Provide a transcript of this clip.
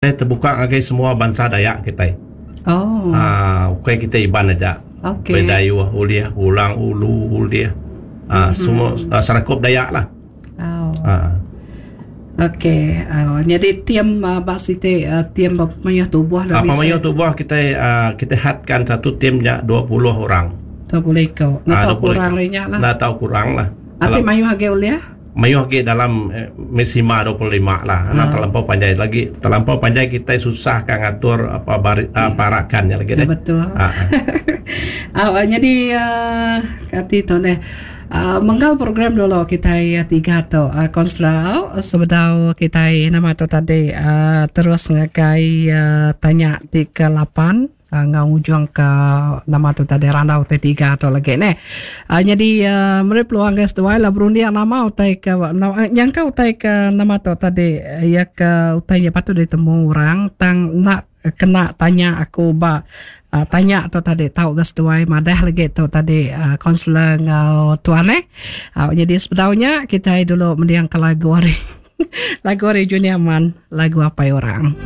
Kitai tebuka ngagai semua bansa Dayak kitai. Oh. Aa ukai kitai Iban aja. Okey. Bidayuh ulih, Orang Ulu ulih. Aa mm-hmm. semua uh, serakup Dayak lah. Oh. Aa. Okey, uh, jadi tim uh, ba siti uh, tim pemayuh tubuh lah. Uh, pemayuh tubuh kita uh, kita hadkan satu tim nya 20 orang. 20 iko. Enda tau kurang nya lah. Enda tau kurang lah. Ati mayuh agi ulih? Mayuh agi dalam maksima 25 lah. Anang terlampau panjai lagi. Terlampau panjai kitai susah ka ngatur apa bari, parakan nya lagi deh. Betul. Ha. Au nyadi kati tu neh. Menggal program dulu kitai tiga tu konselor sebedau kitai nama tu tadi terus ngagai tanya ti ke lapan. Enggau ngujung ke nama tu tadi randau utai tiga tu lagi neh. Nyadi meri peluang ngagai seduai lah berunding nama utai ke nyangka utai ke nama tu tadi iya ke utai nya patut ditemu orang tang enda kena tanya aku ba tanya tu tadi tau ga seduai madah lagi tu tadi kaunselor enggau tuan neh. Nyadi sebedau nya kitai dulu mending ke lagu ari lagu ari Junior Man lagu Apai Orang.